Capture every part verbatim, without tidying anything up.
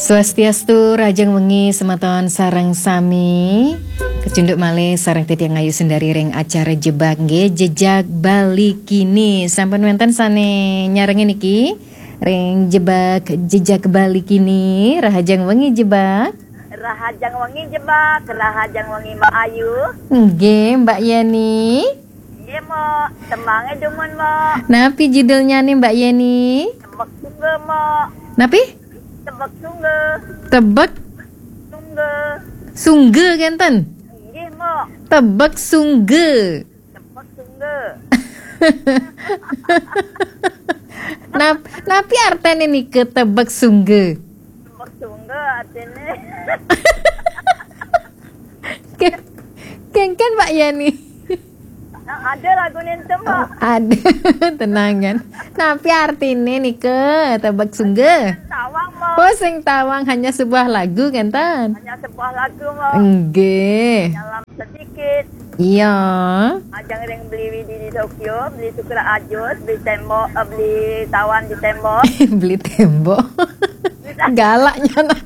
Swastiastu, rahajeng wengi semeton sareng sami. Kecunduk malih sareng titiang Ayu Sundari ring acara Jebak nggih, Jejak Bali Kini. Sampun wenten sane nyarengin niki ring Jebak, Jejak Bali Kini. Rahajeng wengi, Jebak. Rahajeng wengi, Jebak. Rahajeng wengi, Mbak Ayu. Nggih, Mbak Yeni. Nggih, Mbok. Tembange dumun, Mbok. Napi judulnyane, Mbak Yeni? Tebek Sungge, Mbok. Napi? Tebek Sungge. Tebek Sungge. Sungge kenten? Nggih, Mbok. Tebek Sungge. Tebek Sungge. Nap-, napi artene nika, Tebek Sungge? Tebek Sungge artine. Ke-, kengken, Mbak Yani. Nah, ada lagu nenten, Mbok. Oh, ada. Tenangan. Napi artine nika, Tebek Sungge? Tawang, Mbok. Oh, sing tawang, hanya sebuah lagu, kenten? Hanya sebuah lagu, Mbok. Nggih. Dalam sedikit. Iya. Ajeng ring beli Widi di Tokyo, beli Sukra Ajus, beli tembok, eh, beli tawan di tembok. Beli tembok. Galaknya nan.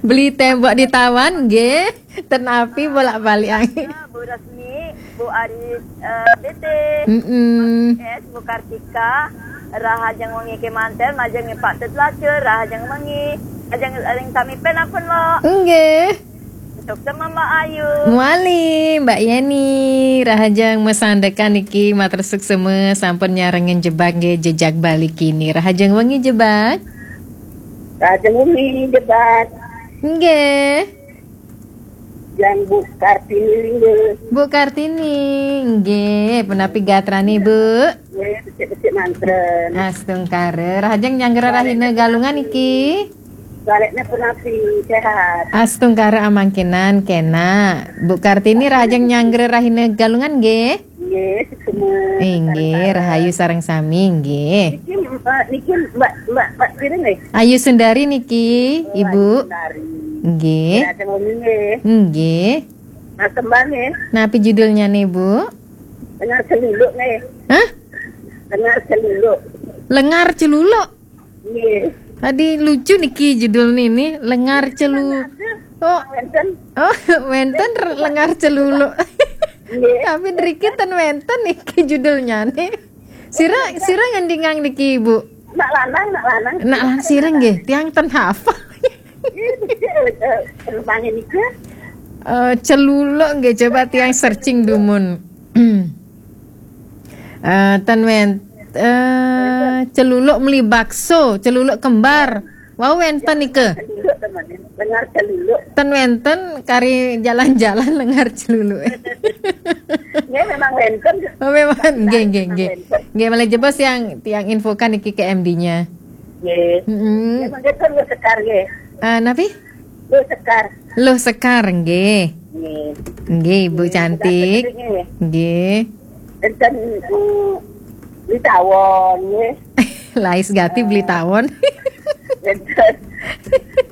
Beli tembok di tawan, nggih. Ten api bolak-balik angin. Bu Resmi, Bu Ari, eh, B T, Mm-mm. S, Bu Kartika, rahajeng wengi kemanten, majeng Pak Tet Lacur, rahajeng wengi, ajeng ring sami pen ampun, Mbok. Nggih. Suksma, Mbak Ayu. Mawali, Mbak Yeni, rahajeng masandekan niki, matur suksma sampun nyarengin Jebak nggih, Jejak Bali Kini. Rahajeng wengi, Jebak. Rahajeng wengi, Jebak. Nggih. Yang Bu Kartini Lingga. Bu Kartini, nggih, punapi gatrane, Bu? Nggih, becik-becik manten. Astungkara, rahajeng nyanggra rahina Galungan niki. Balekne punapi, sehat? Astungkara amangkinan, kena. Bu Kartini, rahajeng nyanggra rahina Galungan nggih? Nggih, suksma. Inggih, rahayu sareng sami nggih. Niki, Mbak, niki Mbak, Mbak, Mbak Sri nggih? Ayu Sundari niki, Oh, Ibu. Ayu Sundari. Nggih. Rahajeng wengi nggih. Nggih. Mas Kembang nggih. Napi judulnyane, Bu? Lengar Celuluk nggih. Hah? Lengar Celuluk. Lengar Celuluk? Nggih. Tadi lucu niki judul niki, Lengar Celu-, oh. Wenten. Oh, wenten r-, Lengar Celuluk. Nggih. Tapi nriki ten wenten niki judulnyane. Sira, sira ngendingang niki, Bu? Nak lanang, nak lanang. Nak lanang sira nggih, tiang ten hafal. Nggih, niki, eh, eh, penumpangnya niki. Eh, Celuluk nggih, coba tiang searching dumun. Eh, ten wen-, eh, Celuluk meli bakso, Celuluk kembar. Wau wenten nika. Celuluk teman, Lengar Celuluk. Ten wenten kari jalan-jalan Lengar Celuluk. Nggih, memang wenten. Oh, memang. Nggih, nggih, nggih. Wenten. Nggih, malih jebos yang, yang infokan niki ke M D-nya. Nggih. Mm-mm. Nggih, mangke ten Luh Sekar nggih. Eh, napi? Luh Sekar. Luh Sekar, nggih. Nggih. Nggih, Ibu Nggih, cantik. Nggih. Nggih. Enten, mm, Beli Tawon, nggih. Lais gati Beli Tawon. Enten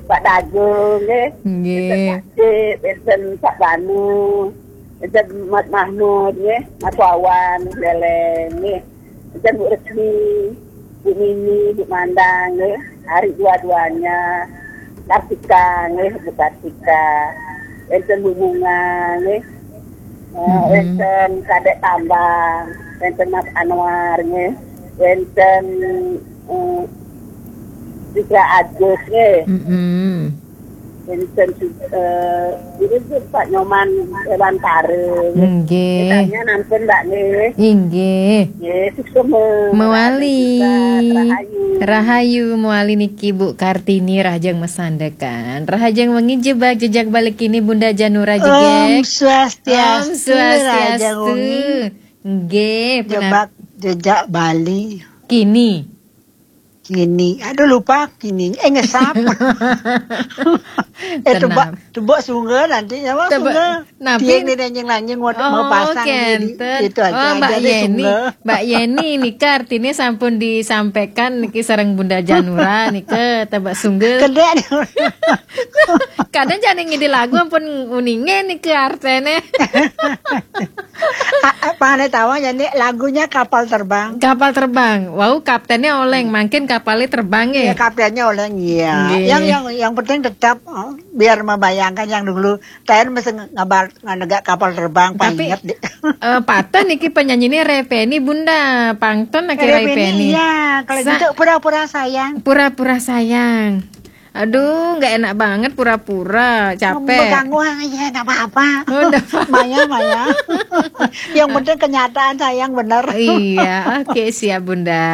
Pak Dagung, nggih. Nggih. Enten Pak Cik, enten Pak Banu, enten Mat Mahmud, nggih. Mas Wawan, Leleng, nggih. Enten Bu Resmi, Bu Mini, Bu Mandang, nggih. Hari dua-duanya. Kartika, nggih, Bu Kartika. Enten Bu Bunga, nggih. Eh, Mm-mm. Wenten Kadek Tambang, wenten Mas Anwar, nggih. Wenten, eh, Fitra Agus, nggih. Mm-mm. Wenten su-, eh, ini tuh Pak Nyoman Dewantara, nggih. Nggih. Misalnya nampun, Mbak, nggih. Inggih. Nggih, suksma. Mawali. Rahayu. Rahayu, mawali niki Bu Kartini, rahajeng masandekan. Rahajeng wengi, Jebak Jejak Bali Kini, Bunda Janura Jegek. Om Swastiastu, Om Swastiastu. Rahajeng wengi. Nggih, punapi? Jebak Jejak Bali. Kini. Kini. Aduh, lupa kini. Eh, ngesap. Eh, Tenang. Tebak, tebak Sungge nanti, apa Tebak, Sungge? Napi? Tiang di nanying-nanying mau, Oh, mau pasang di, di, kenten. Itu aja, Oh, Mbak aja deh, Yeni. Sungge. Mbak Yeni nika artine sampun disampaikan niki sareng Bunda Janura nika, Tebak Sungge. Kedek. Kadang jane ngide lagu ampun uninge niki artene. A-, a-, pane tawang jane lagunya Kapal Terbang. Kapal Terbang. Wau kaptene oleng, mangkin kapalnya terbang ya. Iya, kaptennya oleng, iya. Nggih. Yang, yang, yang penting tetap, eh, biar membayangkan yang dulu. Saya mesti ngabar, nganegak kapal terbang, Tapi, paling inget deh. Eh, patut niki penyanyinya Ray Penny, Bunda. Pangton lagi Ray Ray Penny, Penny. Iya, kalau Sa- gitu pura-pura sayang. Pura-pura sayang. Aduh, nggak enak banget pura-pura, capek. Mengganggu, ah, iya, nggak apa-apa. Oh, nggak apa-apa. Maya, Maya. Yang penting kenyataan sayang bener. Iya, oke, siap, Bunda.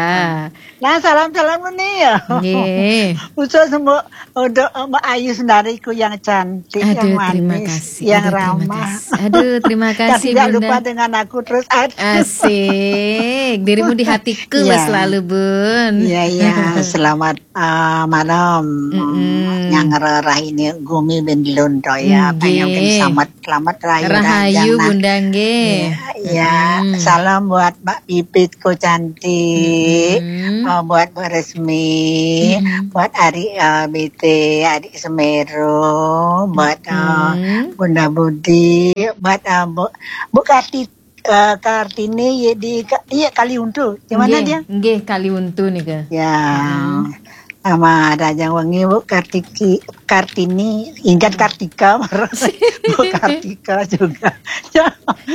Nah, salam-salam nih ya. Nggih. Khusus untuk, untuk Mbak Ayu Sendariku yang cantik, yang Aduh, terima manis, kasih. Yang Aduh, terima ramah. kasih. Aduh, terima Dan kasih, tidak Bunda. lupa dengan aku terus. Aduh. Asik. Dirimu di hatiku Iya. selalu, Bun. Iya, iya. Selamat, eh, malam. Mm-mm. Yang rerah ini Gumi bin Londo ya. Nggih. Pengen selamat, selamat raya Rahayu, Rajang, nah. Bunda, nggih. Iya, iya. Mm-mm. Salam buat Mbak Pipitku cantik. Mm-mm. Eh, buat Bu Resmi, Mm-mm. buat Ari, eh, B T, Adik Semeru, buat, eh, Mm-mm. Bunda Budi, buat, eh, Bu, Bu Karti, eh, Kartini, ya, di Ka-, iya, Kaliuntu. Di mana Nggih, dia? nggih, Kaliuntu nih ke. Ya. Mm-mm. Sama Rajang Wengi, Bu Kartiki, Kartini, ingat Kartika, Bu Kartika juga. Ya,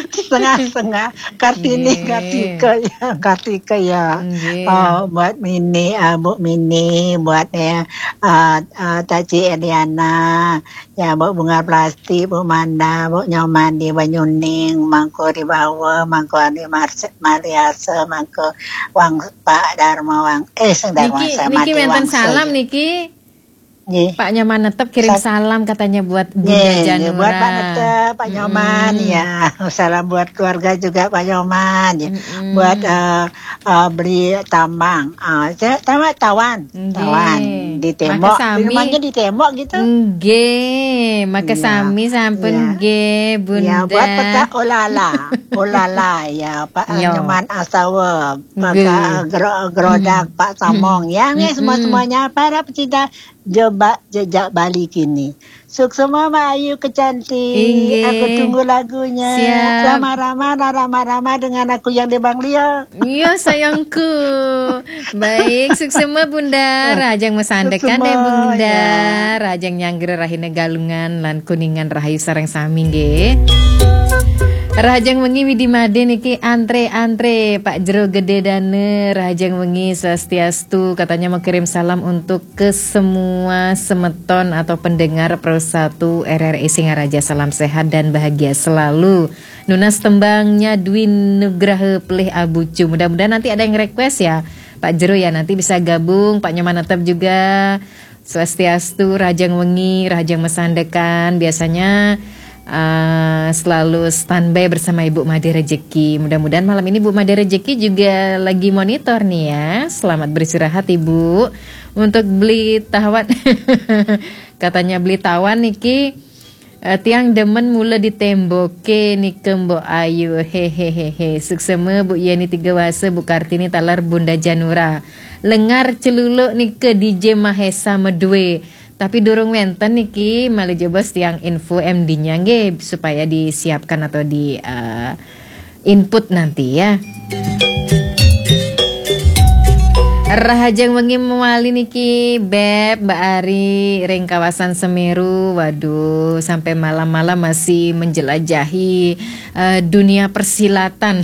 setengah-setengah. Kartini, Nggih. Kartika, ya, Kartika, ya. Nggih. Oh, buat Mini, ah, Bu Mini, buat, ya, ah, ah, Taci Eliana, ya, Bu Bunga Plastik, Bu Manda, Bu Nyoman di Banyuning, Mangko Ribawa, Mangko Andi Marse-, Mariase, Mangko Wang Pak Darma Wang, eh, Seng Darma Niki, Wangsa, niki Mati wenten Wangsa, salam ya. niki. Nggih. Pak Nyoman Netep kirim Sa- salam katanya buat Bunda Nggih, nggih, buat Pak Janura. Netep, Pak Nyoman, Mm-mm. ya. Salam buat keluarga juga Pak Nyoman, ya. Mm-mm. Buat, eh, eh, Beli Tambang. Ah, saya sama Tawan. Nggih. Tawan. Di Maka tembok. sami. Rumahnya di tembok gitu. Nggih, maka Iya. sami sampun Iya. nggih, Iya, buat Bunda. peta olala. Olala, ya, Pak Iya. Nyoman Astawa. Maka Nggih. gero-, gerodak, Mm. Pak Samong. Ya, nggih, Mm-mm. semua-semuanya para pecinta jeba-, jejak Bali kini. Suksema Mbak Ayu kecantik. Inggih. Aku tunggu lagunya. Siap. Rama-rama, rama-rama dengan aku yang di Bang Lio. Iya, sayangku. Baik, suksema Bunda. Oh, Rahajeng masandekan deh, suksema, Bunda. ya. Rahajeng nyanggra rahina Galungan lan Kuningan rahayu sareng sami nggih. Rahajeng wengi Widi Made niki antre-antre, Pak Jero Gede Dane, rahajeng wengi swastiastu, katanya mau kirim salam untuk ke semua semeton atau pendengar Pro satu R R I Singaraja. Salam sehat dan bahagia selalu. Nunas tembangnya Dwi Nugraha Pelih Abucu. Mudah-mudahan nanti ada yang request ya, Pak Jero ya, nanti bisa gabung, Pak Nyoman Netep juga. Swastiastu, rahajeng wengi, rahajeng masandekan. Biasanya, eh, selalu standby bersama Ibu Made Rejeki. Mudah-mudahan malam ini Bu Made Rejeki juga lagi monitor nih ya. Selamat beristirahat, Ibu. Untuk Beli Tawan, katanya Beli Tawan niki, eh, tiang demen mula di temboke nike, Mbok Ayu. Hehehehe. Suksema Bu Yeni Tiga Wasa, Bu Kartini taler Bunda Janura. Lengar celuluk nike D J Mahesa Medwe. Tapi durung wenten niki, malih jebos tiang info M D-nya nggih, supaya disiapkan atau di, eh, input nanti ya. Rahajeng wengi mewali niki, Beb, Mbak Ari, ring kawasan Semeru. Waduh, sampai malam-malam masih menjelajahi, eh, dunia persilatan,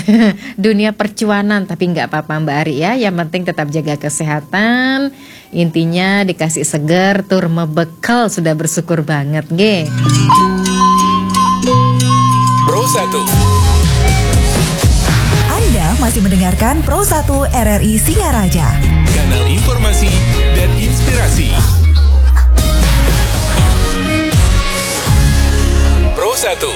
dunia percuanan. Tapi nggak apa-apa, Mbak Ari ya. Yang penting tetap jaga kesehatan. Intinya dikasih seger, tur mebekel, sudah bersyukur banget, nggih. Pro satu. Anda masih mendengarkan Pro satu R R I Singaraja. Kanal informasi dan inspirasi. Pro satu.